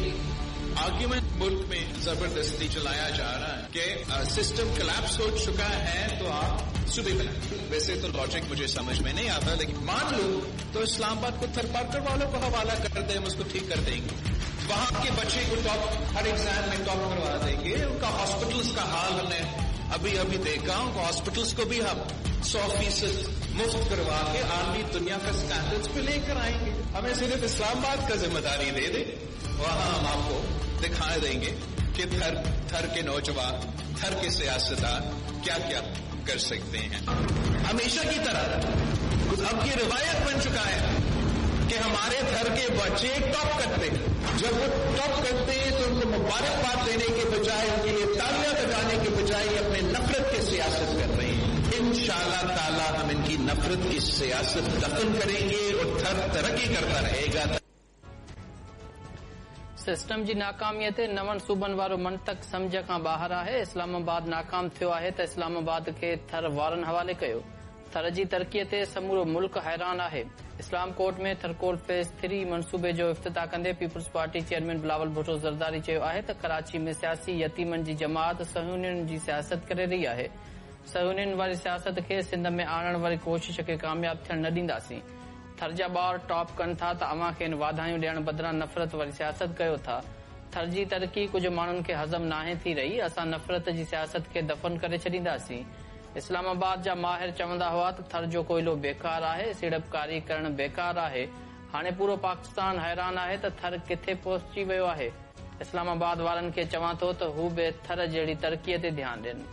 एक आर्ग्यूमेंट मुल्क में जबरदस्ती चलाया जा रहा है कि सिस्टम कलेप्स हो चुका है तो आप सूबे बनाए। वैसे तो लॉजिक मुझे समझ में नहीं आता, लेकिन मान लो तो इस्लामाबाद को थरपारकर वालों को हवाला कर दे, हम उसको ठीक कर देंगे। वहां के बच्चे को टॉप हर एग्जाम में टॉप करवा देंगे। उनका हॉस्पिटल्स का हाल हमने अभी अभी देखा, उनको हॉस्पिटल्स को भी हम 100% मुफ्त करवा के आलमी दुनिया का स्टैंडर्ड्स पे लेकर आएंगे। हमें सिर्फ इस्लामाबाद का जिम्मेदारी दे दे, वहां हम आपको दिखा देंगे कि थर थर के नौजवान, थर के सियासतदान क्या क्या कर सकते हैं। हमेशा की तरह अब ये रिवायत बन चुका है कि हमारे थर के बच्चे टॉप करते हैं। जब वो टॉप करते हैं तो उनको मुबारकबाद देने के बजाय, उनके लिए तालियां बजाने के बजाय अपने नफरत की सियासत कर रहे हैं। इंशाअल्लाह ताला हम इनकी नफरत की सियासत दफन करेंगे और थर तरक्की करता रहेगा। सिस्टम जी नाकामीअ ते नवनि सूबनि वारो मंतक सम्झ खां ॿाहिरि आहे। इस्लामाबाद नाकाम थियो आहे त इस्लामाबाद खे थर वारनि हवाले कयो। थर जी तरक़ीअ ते समूरो मुल्क हैरान आहे। इस्लाम कोट में थरकोल फेज़ 3 मनसूबे जो इफ्तिताह कंदे Peoples Party chairman Bilawal Bhutto Zardari चयो आहे त कराची में सियासी यतीमनि जी जमात सहूनियुनि जी सियासत करे रही आहे। सहूनियुनि वारी सियासत खे सिंध में आणण वारी कोशिश खे कामयाब थियण न ॾींदासीं। थर जा ॿार टॉप कनि था त अव्हां खेनि वाधायूं ॾियण बदिरां नफ़रत वारी सियासत कयो था। थर जी तरक़ी कुझु माण्हुनि खे हज़म नाहे थी रही। असां नफ़रत जी सियासत खे दफ़न करे छॾींदासीं। इस्लामाबाद जा माहिर चवंदा हुआ त थर जो कोयलो बेकार आहे, सीड़पकारी करण बेकार आहे। हाणे पूरो पाकिस्तान हैरान आहे त थर किथे पहुची वियो आहे। इस्लामाबाद वारनि खे चवां थो त हू बि थर जहिड़ी तरक़ीअ ते ध्यानु ॾियनि।